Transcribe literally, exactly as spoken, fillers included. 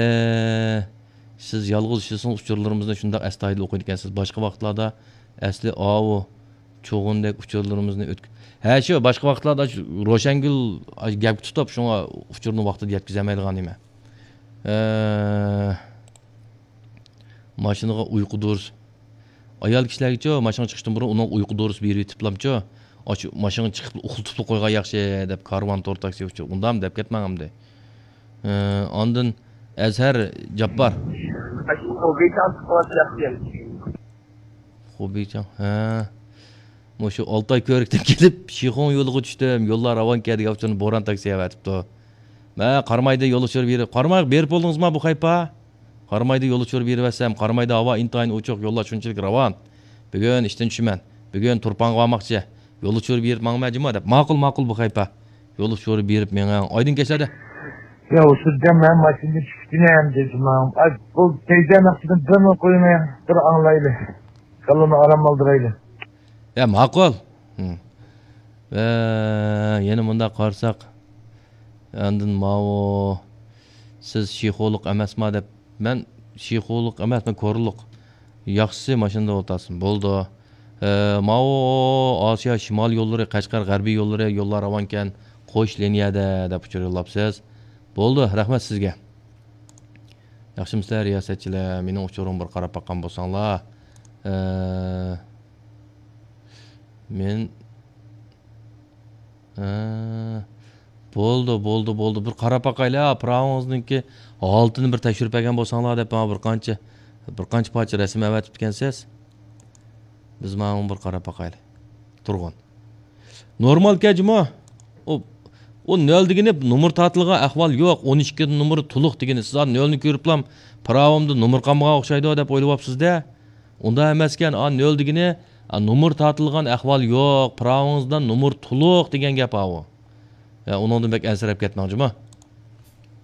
ئە، سىز يالغۇز ئىشلىسىڭىز ئۇچۇرلىرىمىزنى شۇنداق ئەستايىدىل ئوقۇيدىكەنسىز. باشقا ۋاقىتلاردا ئەسلى ئاۋۇ چوغۇندەك ئۇچۇرلىرىمىزنى ئۆتك-، ھە، شۇ باشقا ۋاقىتلاردا شۇ روشەنگۈل گەپكە تۇتۇپ، شۇڭا ئۇچۇرنى ۋاقتىدا يەتكۈزەلمەيدىغان نېمە. ئە، ماشىنىغا ئۇيقۇ دورىسى. ئايال كىشىلەرگىچۇ، ماشىنىغا چىقىشتىن بۇرۇن ئۇنىڭغا ئۇيقۇ دورىسى بېرىۋېتىپلامچۇ، ئاشۇ ماشىنىغا چىقىپ ئۇخلىتىپلا قويغان ياخشى دەپ، كارۋان تور تاكسى ئۇچۇر. ئۇندام دەپ كەتمەڭ ئەمدى. ئە، ئاندىن ئەزھەر جاپپار. خوبىچاڭ، ھە. مۇشۇ ئالتاي كۆۋرۈكتىن كېلىپ، شىخۇڭ يولىغا چۈشتۈم. يوللار راۋانكەن دېگەن ئۇچۇرنى بوران تاكسى ئەۋەتىپتۇ. مە، قارامايدا يول ئۇچۇرى بېرىپ، قارامايغا بېرىپ بولدىڭىزما بۇ خەيپا؟ قارامايدا يول ئۇچۇرى بېرىۋەتسەم، قارامايدا ھاۋا ئىنتايىن ئوچۇق، يوللار شۇنچىلىك راۋان. بۈگۈن ئىشتىن چۈشىمەن. بۈگۈن تۇرپانغا بارماقچى. يول ئۇچۇرى بېرىپ ماڭىمەن جۇما دەپ. ماقۇل، ماقۇل بۇ خەيپا. يول ئۇچۇرى بېرىپ مېڭىڭ. ئايدىڭ كەچلەردە. يا، ئۇ سىزدە مەن ماشىنىدىن چۈشۈپ كېتىمەن دېدىم. ئاي، بۇ تەيزەنىڭ ئىچىدىن بىرنى قويماي، بىر ئاڭلايلى. كاللىنى ئارام ئالدۇرايلى. يا، ماقۇل. ھىم. ۋە يەنە مۇنداق قارىساق، ئاندىن ماۋۇ، سىز شىخۇلۇق ئەمەسما دەپ، مەن شىخۇلۇق ئەمەس، مەن كورلۇق. ياخشىسى ماشىنىدا ئولتۇرسۇن. بولدى. ئە، ماۋۇ ئاسىيا شىمال يوللىرى، قەشقەر غەربىي يوللىرى، يوللار راۋانكەن، قوش لىنىيەدە دەپ ئۇچۇر يوللاپسىز. بولدى، رەھمەت سىزگە. ياخشىمۇسىلەر رىياسەتچىلەر؟ مېنىڭ ئۇچۇرۇمغا بىر قاراپ باققان بولساڭلار. ئە، مەن ھە، بولدى، بولدى، بولدى. بىر قاراپ باقايلى، ھە، پىراۋىڭىزنىڭكى ھالىتىنى بىر تەكشۈرۈپ بەرگەن بولساڭلار دەپ، ماڭا بىر قانچە، بىر قانچە پارچە رەسىم ئەۋەتىپتىكەنسىز. بىز ماڭا بىر قاراپ باقايلى. تۇرغۇن. نورمالكەن جۇمۇ. ئۇ، ئۇ نۆل دېگىنى نومۇر تارتىلغان ئەھۋال يوق. ئون ئىككى نومۇر تولۇق دېگىنى. سىز ھازىر نۆلنى كۆرۈپلا پىراۋىمدا نومۇر قالمىغان ئوخشايدۇ دەپ ئويلىۋاپسىز-دە. ئۇنداق ئەمەسكەن، ئا، نۆل دېگىنى، ئا، نومۇر تارتىلغان ئەھۋال يوق، پىراۋىڭىزدا نومۇر تولۇق دېگەن گەپ ئاۋۇ. يا، ئۇنىڭدىن بەك ئەنسىرەپ كەتمەڭ جۇمۇ.